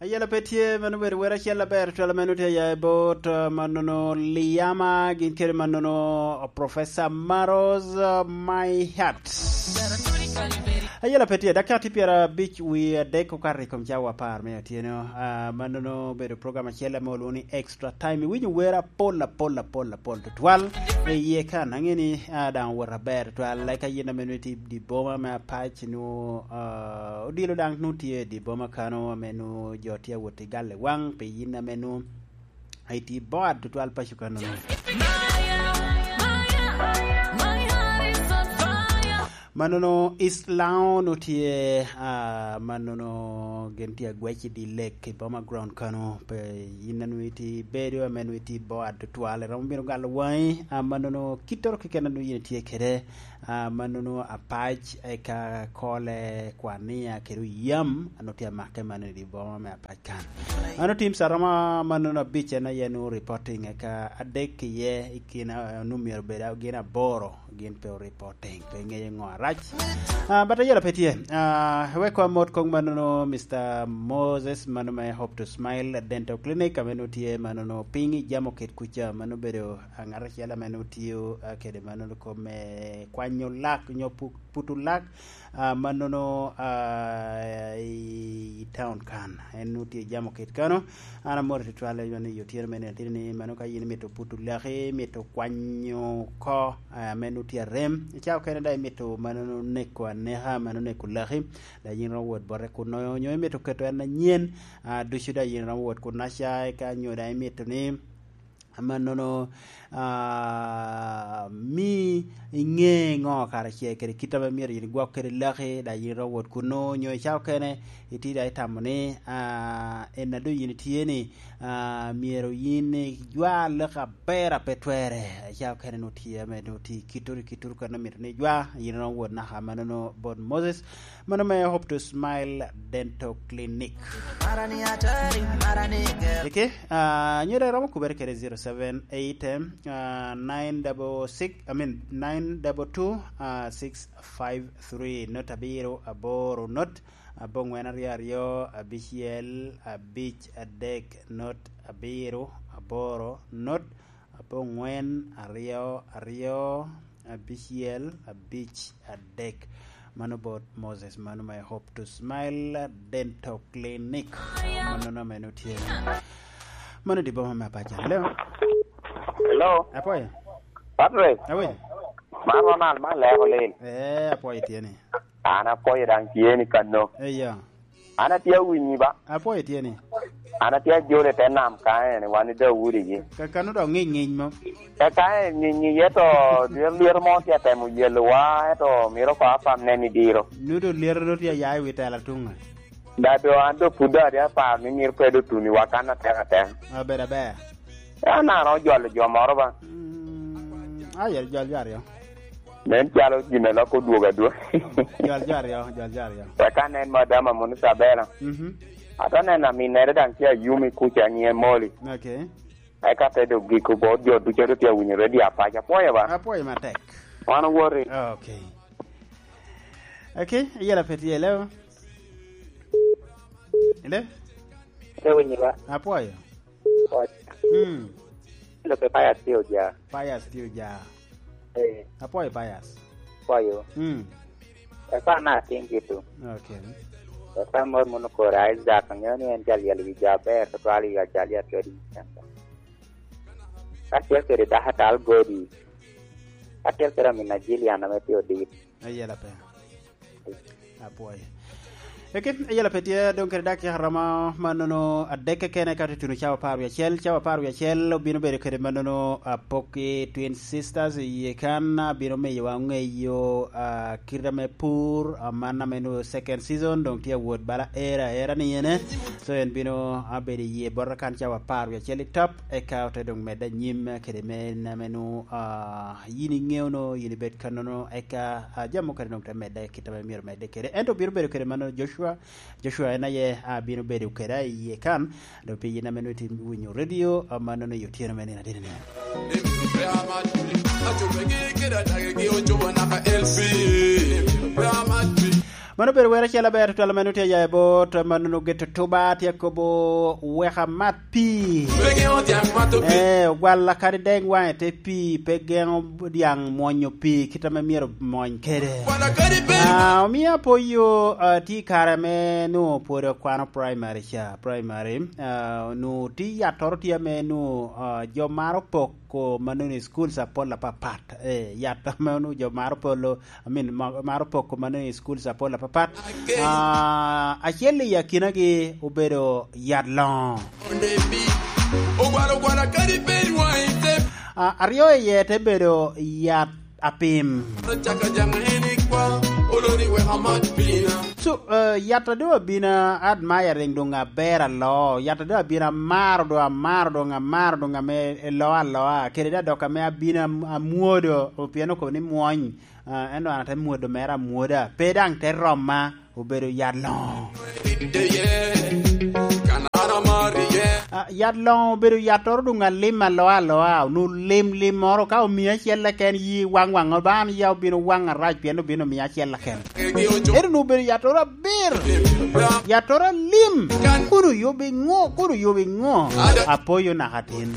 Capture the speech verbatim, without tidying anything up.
Ayela pe tye, mano obedo wer acel aber twal meno tye aya i bot, uh, manono Liama, gin kede manono Professor Maros, uh, My Heart. Ayela pe tye, dakika tye pyera abic wie adek okato i kom cawa apar me otyeno. Uh, manono obedo program acel ame olwongo ni Extra Time. Iwinyo wer apol, apol, apol, apol tutwal. E iye kan, ange ni, uh, daŋ owot aber twal. Like ayen ame nongo itye i di boma me Apac, nongo, uh, odilo daŋ nongo tye i di boma kano, ame nongo jo tye awot i gal i waŋ, pi yin ame nongo itye i bot tutwal paco kano. Manono East Lawn otye, ah, manono gin tye agwec i di lek i boma ground kano, pe yin ame nongo itye i bedo, ame nongo itye i bot tutwal, iromo bino galo waŋi, ah, manono kittoro keken ame nongo yin itye kede, ah, manono Apac, eka Kole, Kwania, kede Oyam, anu tye amake mano i di boma me Apac kan. Anu teams aromo manono abic en aye nu reporting, eka adek iye i kin, ah, nu myero bed gin aboro, gin pe o reporting, pe ŋeyo ŋo arac. Ah, but ayela pe tye. Ah, wek wa mot kong manono Mister Moses, mano me Hope to Smile Dental Clinic, ame nu tye manono piny i Jamo Kit kuca, mano bedo, ah, ŋat acel ame nu tiyo, ah, kede manono kome kwanyo lak, nyo pu-, puto lak, ah, manono, ah, i, i town kan. En nu tye Jamo Kit kano. An amoro tutwal, aywa ni otyeno mene ateni ni mano ka yin imito puto laki, imito kwanyo oko, ah, ame nu tye arem. I cawa okene daŋ imito manono neko aneka, mano neko laki. Daŋ yin romo wot bote kuno, nyo imito keto en anyen, ah, ducu daŋ yin romo wot kuno aca, eka nyo daŋ imito ni, amannono, ah, mi iŋe ŋo kara ce kede kit ame myero yin igwok kede laki, daŋ yin iromo wot kuno, nyo i cawa okene itye daŋ itamo ni, ah, en a doŋ yin itye ni, ah, myero yin ijwa laki aber a pe twerre. I cawa okene nwoŋo tye ame nwoŋo tye i kitto, i kitto kene omito ni ijwa, yin iromo wot naka amannono bot Moses. Mano me Hope to Smile Dental Clinic. Eke, ah, nyo daŋ iromo kubere kede zero seven eight, ah, nine double six, I mean, nine double two, ah, six five three, not abiro aboro, not abongwen aryo aryo, abicel abic adek, not abiro aboro, not abongwen aryo aryo, abicel abic adek. Mano bot Moses, mano me Hope to Smile Dental Clinic. Mano na meno tye. Mano di boma me Apac. Hello? Hello? Apwoyo. Patrick? Awe? Man Ronald, man Leko Lil. Eh, apwoyo tye ni. An apwoyo daŋ tye ni kano. Eh, ya. An atye awinyi ba. Apwoyo tye ni. An atye ajolo i te nam ka en, wan i Daudi gi. Ka kano dok ŋic ŋic mo. E ka en ŋic ŋic, eto lyero mo tye atemo yelowa, eto miro ko apam nen i diro. Nudo lyero do tye aya i wi tela tuŋe. Da do an do pud do adi apar ni miro pe do tuni wa kan atek atek. Abedo aber. An aromo jolo jo moro ba. Mm, aye, jol jo aryo. Nen calo gin a lok odwogo adwoga. Jol jo aryo, jol jo aryo. Eka nen madam Amun Isabela. Mhm. Ata neno aminere daŋ tye ayumi kuca nyiŋe Moli. Okay. Eka te dok giko bot jo ducu a tye awinyo redio Apac. Apwoyo ba? Apwoyo matek. Wan owoti. Okay. Okay, iyela pe tye, hello? Hello? Te winyo ba? Apwoyo. Ot. Mm. Lok pe Pius tye oja. Pius tye oja. Eh. Apwoyo Pius. Apwoyo. Mm. Eka na atin gitu. Okay. Eka mot mono koro Isaac, angeyo ni en jal yel wi jo aber, tutwal i Ajalia Trading Center. Ka tye kede dako atal Godi. Ka tye kede amin a Jilian ame tye odit. Ayela pe. Apwoyo. Eke, ayela pe tye, dong kede dakika romo manono adek keken, eka tutuno cawa apar wie acel. Cawa apar wie acel obino bedo kede manono apok i Twin Sisters i yie kan, abino miyowa ŋeyo, ah, kite ame pur, ah, man ame nwoŋo second season, dong tye awot bala era, era ni ene. So, en bino, ah, bedo i yie bota kan cawa apar wie acel i top, eka ote dong medde anyim kede me, ame nwoŋo, ah, yin iŋeo no, yin ibed kannono, eka, ah, jami mukene dong te medde kit ame myero medde kede. Ento bino bedo kede mano Joshua. Joshua en aye, ah, bino bedo keda i yie kan, dok pi yin ame nwoŋo itye winyo redio, ah, mano ni otyeno me nino adini ni. Mano obedo wer acel aber tutwal ame nutye aya i bot, ma nongo geto tuba tye akobo, "Weka mat pii." Pe geŋo dyaŋ mato pii. Eh, ogwalla kadi deng waŋe te pii, pe geŋo dyaŋ mwonyo pii kit ame myero mony kede. Ogwalla kadi pe- Ah, omio apoyo, ah, tye i kare ame nongo pwod akwano primary ca, primary, ah, nongo tye yattoro tye ame nongo, ah, jo maro poko ma nongo i schools apol apapat. Eh, yat ame nongo jo maro polo, I mean, ma-, maro poko ma nongo i schools apol apapat. Ah, acel i akinagi obedo yat loŋo. Ah, aryo iye te bedo yat apim. So, eh, yat a doŋ abino admiring doŋ aber aloo, yat a doŋ abino amaro doŋ, amaro doŋ, amaro doŋ ame eloo aloa, kede daŋ dok ame abino am-, amwodo, pien okobo ni mwony. Ah, ento an ate mwodo mere amwoda, pe daŋ te romma, obedo yat loŋo. Ah, yat loŋo obedo yattoro doŋ alim aloa aloa, onwoŋo lim lim moro, ka omio acel keken, yi waŋ waŋ, ba an ya obino waŋ arac, pien obino omio acel keken. Ento onwoŋo obedo yattoro aber, yattoro alim, kun oyubo iŋo, kun oyubo iŋo? Apoyo naka tin.